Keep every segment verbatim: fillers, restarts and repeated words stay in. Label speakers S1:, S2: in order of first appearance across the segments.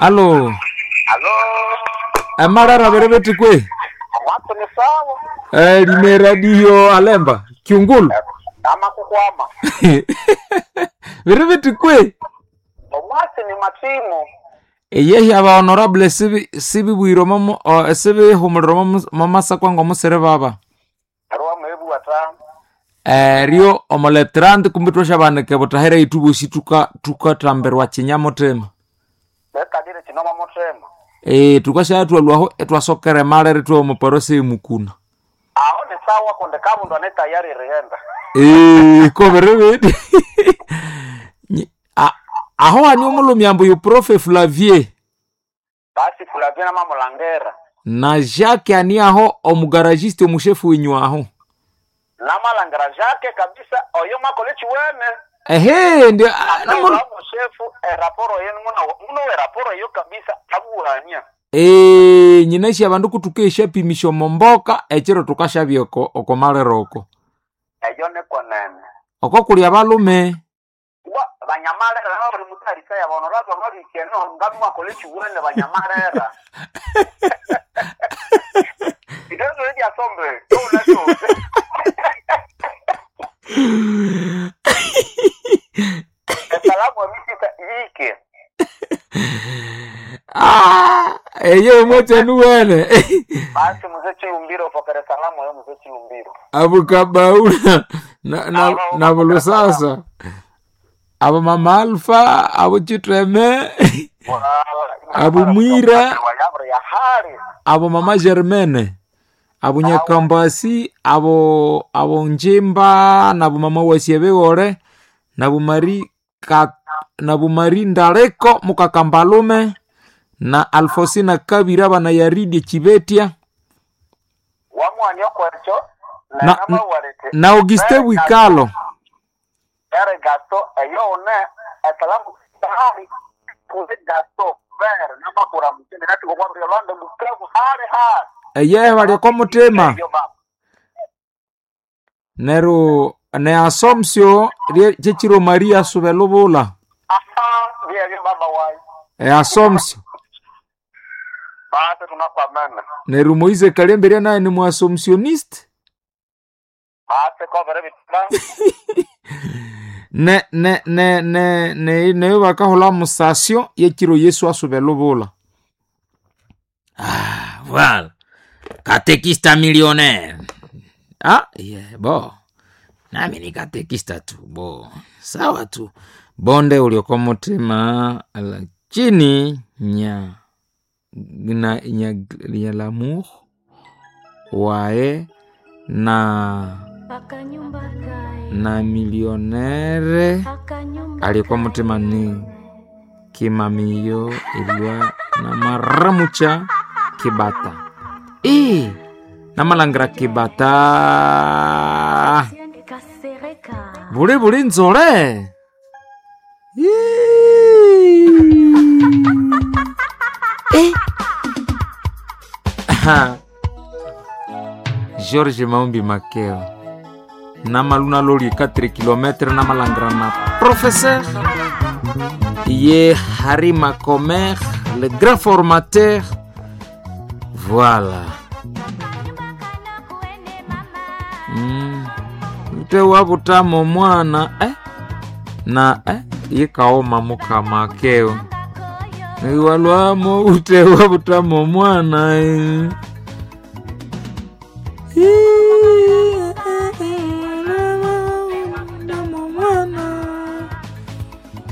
S1: Alo.
S2: Alo.
S1: Amarara berebeti kwe.
S2: Watu ni sawa.
S1: Eh, lime radio alemba kiungulu.
S2: Ama kukwama.
S1: Berebeti kwe.
S2: Omwasi ni matimu.
S1: Eyehi aba honorable sibi sibi bwiro mamo o, sibi humuliro mamo mamasa kwango musere baba.
S2: Arwa mwebu wata.
S1: Erio omoletrand kumbi twashabanike butahera itubosi tuka tukatamberwa chinyamutema.
S2: Bekadire chinoma mutema.
S1: Eh tukashatwalwaho etwasokere malere twa omuparose emukuna.
S2: Aho ni sawa konde kabundu ane tayari rienda.
S1: Eh koberebeti. Nyi- a- aho ani omulumyambo yu profe Flavier
S2: Basi Flavia na mamulangera.
S1: na Jacques ani aho omugaragiste omushefu winyu aho.
S2: Namalangera Jacques kabisa oyo makole chiwene.
S1: Ehe ndio ah,
S2: Namu
S1: namu-
S2: shefu eraporo yenu muna muno eraporo yo kabisa abuhanya.
S1: Eh nyinashi abandu kutuka eshapimisha momboka echiro tukashabya oko okomalero oko.
S2: Eyo ne konene.
S1: Oko kuli abalume.
S2: Wa banyamalera nabo bali mutarisa ya honorable babikeno ngamu makole chiwene banyamalera. Idozo rya sombe, tuna so. Esalamu emisita yike.
S1: Ah, eye mote nuwene.
S2: Basi mzee Chilumbiro pokere salamu yo mzee Chilumbiro.
S1: Abukabaula na na na bulusasa. Abo mama Alfa, abo Chitreme, Abu Mwira.
S2: Wayabra ya hali.
S1: abo mama Germaine, abo Nyakambasi, abo abo Njimba, nabo mama Wasiebewore, nabo Mari ka, nabo Mari Ndaleko mukakambalume na Alfosina Kabira bana Yaridi Chibetia
S2: Wamwani okwecho
S1: na,
S2: na nama walete.
S1: na Auguste Wikalo.
S2: Ere gasto eyo one esalamu hali. Kuze gasto ver nama kura mchini nati kwa kwa Rwanda Bukavu hali hali.
S1: Eye balioko mutima
S2: Eyo baba.
S1: neru ne asomsio rie- chechiro Maria subelubula
S2: Aha, ndiye ndiye baba wai.
S1: e asomsio
S2: Basi tunakwamana.
S1: neru Moise Kalemberia naye ni muasomsioniste
S2: Basi kwa vere bitba.
S1: ne ne ne ne ne neyo bakahola musasio yekiro Yesu asubelubula. Ah, voilà. Katekista millionnaire. Ah, yeah, bo. Nami ni katekista tu, bo. Sawa tu. Bonde ulioko mutima lakini nya na nya, nya l'amour wae na na millionnaire alikuwa mutima ni kimamiyo ilwa na maramucha kibata e namalangira kibata buli buli nzole Yee. Eh. Aha. George Maumbi Makeo namaluna loli quatre kilometre namalangira na professeur ye Harry Macomer le grand formateur voilà mm. Ute wabutamo mwana eh? na eh? ikaoma mukama akeo iwalwamo ute wabutamo mwana eh.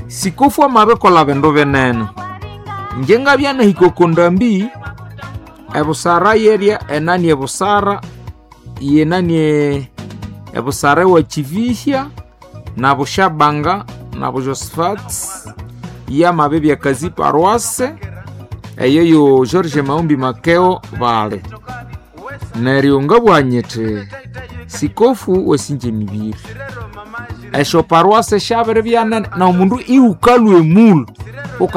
S1: Sikofu amabekola bindu binene nje ngabyanahika okundambi ebusara yerya enani ebusara yenani ebusara ewa chivihya na bushabanga na bujosephat yamabe byakazi paroisse eyo yo George Maumbi Makeo bale neryo ngabwanyete sikofu wesinje mibiri esho paroisse shabere byanene na omundu iukalwe mulu